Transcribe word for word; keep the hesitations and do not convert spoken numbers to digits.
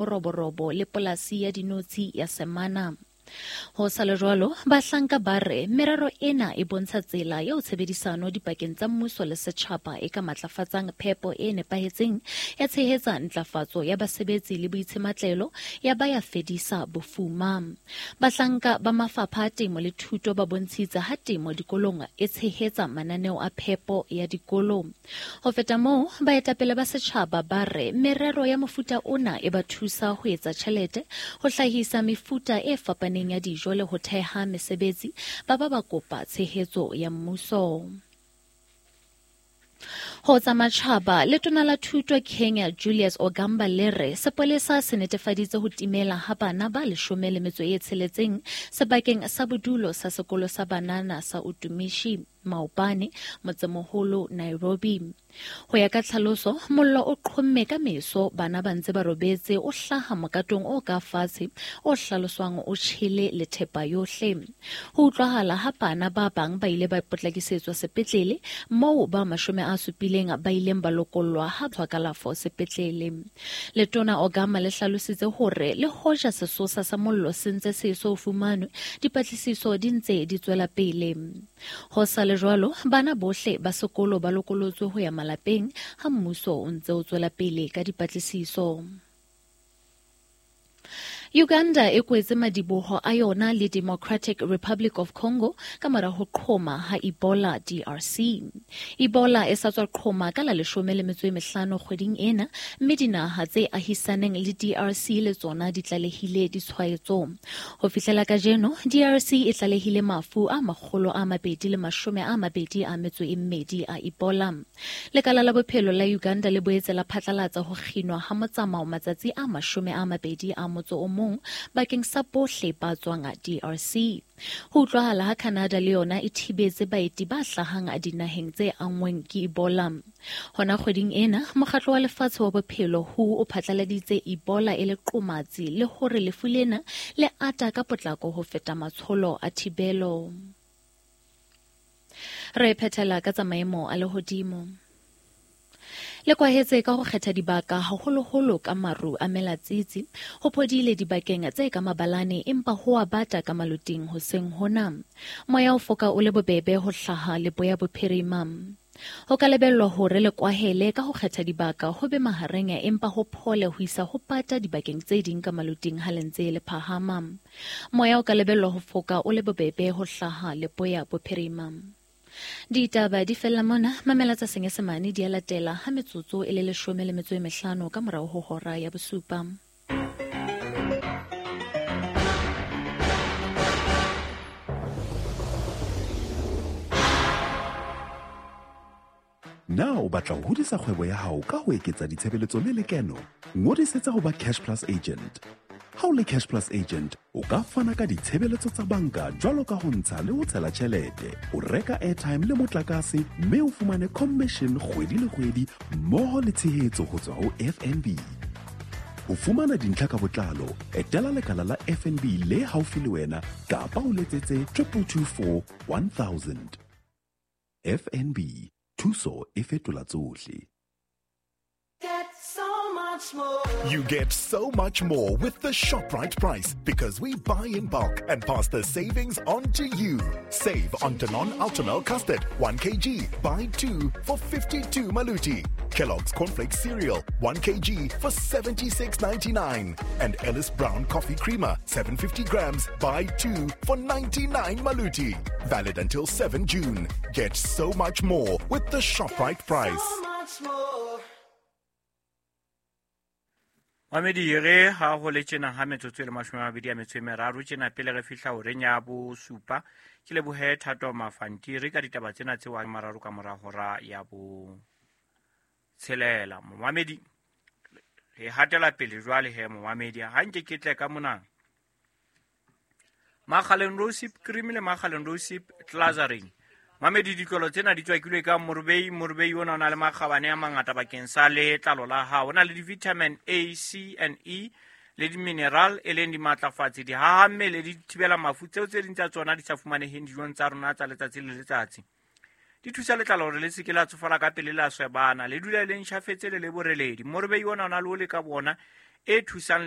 Roborobo le polasi ya dinotshi ya Semana. Ho sa le jwalo, bahlanka ba re merero ena e bontsha tsela eo tshebedisano dipakeng tsa mmuso le setjhaba e ka matlafatsang phepo e nepahetseng, ya tshehetsa ntlafatso ya basebetsi le boitshematlelo, ya ba ya fedisa bofuma. Bahlanka ba mafapha a temo le thuto ba bontshitse ha temo dikolong e tshehetsa mananeo a phepo ya dikolo. Ho feta moo, baetapele ba setjhaba ba re merero ya mofuta ona e ba thusa ho etsa tjhelete, ho hlahisa mefuta e fapaneng ya dijo le ho theha mesebetsi, ba ba ba kopa tshehetso ya mmuso. Ho tsa matjhaba, letona la thuto Kenya Julius Ogamba le re sepolesa se netefaditse ho timela ha bana ba leshome le metso e tsheletseng sebakeng sa bodulo sa sekolo sa banana sa Utumishi maobane motsemoholo Nairobi. Ho ya ka tlhaloso, mollo o qhomme ka meso bana ba ntse ba robetse, o hlaha mokatong o ka fatshe o hlaloswang o tjhele le thepa yohle. Ho utlwahala ha bana ba bang ba ile ba potlakisetswa sepetlele moo ba mashome a supileng ba ileng ba lokollwa ha tswa kalafo sepetlele. Letona Ogama le hlalositse hore le hoja sesosa sa mollo se ntse se eso fumanwe, dipatlisiso di ntse di tswela pele. Ho sa le jwalo, bana bohle ba sekolo ba lokolotswe ho ya malapeng ha mmuso o ntse o tswela pele ka dipatlisiso. Uganda e kwetse madiboho a yona le Democratic Republic of Congo ka mora ho qhoma ha Ebola D R C. Ebola e sa tswa qhoma ka la leshome le metso e mehlano kgweding ena, mme dinaha tse ahisaneng le D R C le tsona di tlalehile ditshwaetso. Ho fihlela kajeno, D R C e tlalehile mafu a makgolo a mabedi le mashome a mabedi a metso e mmedi a Ebola. Lekala la bophelo la Uganda le boetse la phatlalatsa ho kginwa ha motsamao matsatsi a mashome a mabedi a motso o mong bakeng sa bohle ba tswang D R C. Ho utlwahala ha Canada le yona e thibetse baeti ba hlahang dinaheng tse anngweng ke Ebola. Hona kgweding ena, mokgatlo wa lefatshe wa bophelo W H O o phatlaladitse Ebola e le qomatsi le hore lefu lena le ata ka potlako ho feta matsholo a thibelo. Re phethela ka tsa maemo a lehodimo. Le kwahetse ka ho kgetha dibaka haholoholo ka maru a melatsitsi, ho phodile dibakeng tse ka mabalane empa ho a bata ka maloting hoseng hona. Moya o foka o le bobebe ho hlaha leboya bophirima. Ho ka lebellwa hore le kwahele ka ho kgetha dibaka ho be mahareng empa ho phole ho isa ho pata dibakeng tse ding ka maloting ha le ntse le phahama. Moya o ka lebellwa ho foka o le bobebe ho hlaha leboya bophirima. Ditaba di fella mona, mamela tsa Senyesemane di a latela ha metsotso e le leshome le metso e mehlano ka morao ho hora ya bosupa. Na o batla ho hodisa kgwebo ya hao ka ho eketsa ditshebeletso le lekeno? Ngodisetsa ho ba Cash Plus agent. Ha o le Cash Plus agent, o ka fana ka ditshebeletso tsa banka jwalo ka ho ntsha le ho tshela tjhelete, o reka airtime le motlakase, mme o fumane commission kgwedi le kgwedi mmoho le tshehetso ho tswa ho F N B. Ho fumana dintlha ka botlalo, etela lekala la F N B le haufi le wena kapa o letsetse triple two four one thousand. F N B, thuso e fetola tsohle. You get so much more with the ShopRite price because we buy in bulk and pass the savings on to you. Save on Danone Ultramel Custard, one kilogram, buy two for fifty-two maluti. Kellogg's Cornflakes Cereal, one kilogram for seventy-six ninety-nine. And Ellis Brown Coffee Creamer, seven hundred fifty grams, buy two for ninety-nine maluti. Valid until seventh June. Get so much more with the ShopRite price. So much more. Mamedi re ha ho le tjena ha metsotso e le mashome a mabedi a metso e meraro tjena pele re fihla horeng ya bosupa. Ke lebohe Thato Mafantiri ka ditaba tsena tse wa mararo ka mora hora ya bo tshelela. Momamedi re hatela pele jwale he momamedi ha nke ke tle ka mona. Makgaleng Rosip cream le Makgaleng Rosip Glazarin. Mamedi ditlolo tsena di tswakilwe ka morubei, morubei ona o na le makgabane a mangata bakeng sa letlalo la hao. O na le di-vitamin A, C and E le di-mineral e leng dimatlafatsi, dihaha mmele, di thibela mafu tseo tse ding tsa tsona di sa fumaneheng dijong tsa rona tsa letsatsi le letsatsi. Di thusa letlalo hore le se ke la tsofala ka pele la swebana, le dula le ntjhafetse le le boreledi. Morubei ona o na le ole ka bona e thusang